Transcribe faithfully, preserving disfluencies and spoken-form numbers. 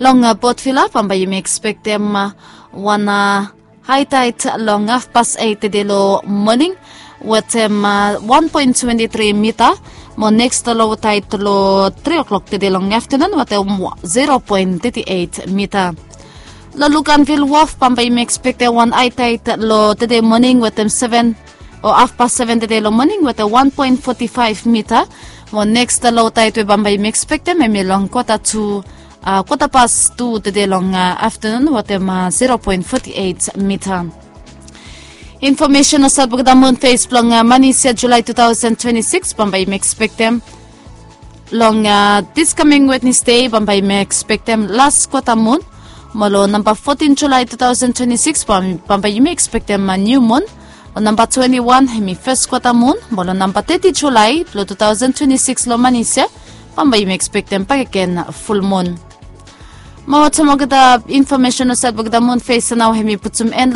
Long Port Vila bambae yumi ekspektem wan haitaet long hafpas eit tede long moning wetem wan poen twenti tri mita, mo neks long lotaet long tri o'klok tede long aftenun wetem zero poen teti eit mita. Long Lukanvil wof bambae yumi ekspektem wan haitaet long tede moning wetem seven o hafpas seven tede long moning wetem wan poen foti faef mita, mo neks long lotaet we bambae yumi ekspektem hemi long kwata tu kwata pas tu tede long aftenun wetem zero poen foti eit mita. Infomesen olsait blong olgeta mun fes blong manis ya Julai tu taosen twenti sikis bambae yumi ekspektem long dis kaming Wednesde bambae yumi ekspektem las kwata mun, mo long namba fotin Julai tu taosen twenti sikis bambae yumi ekspektem niu mun. Long namba twenti wan hemi fes kwata mun, mo long namba teti Julai blong tu taosen twenti sikis long manis ya bambae yumi ekspektem bakegen ful mun. Mo wetem olgeta infomesen olsait blong olgeta mun fes ya nao hemi putum en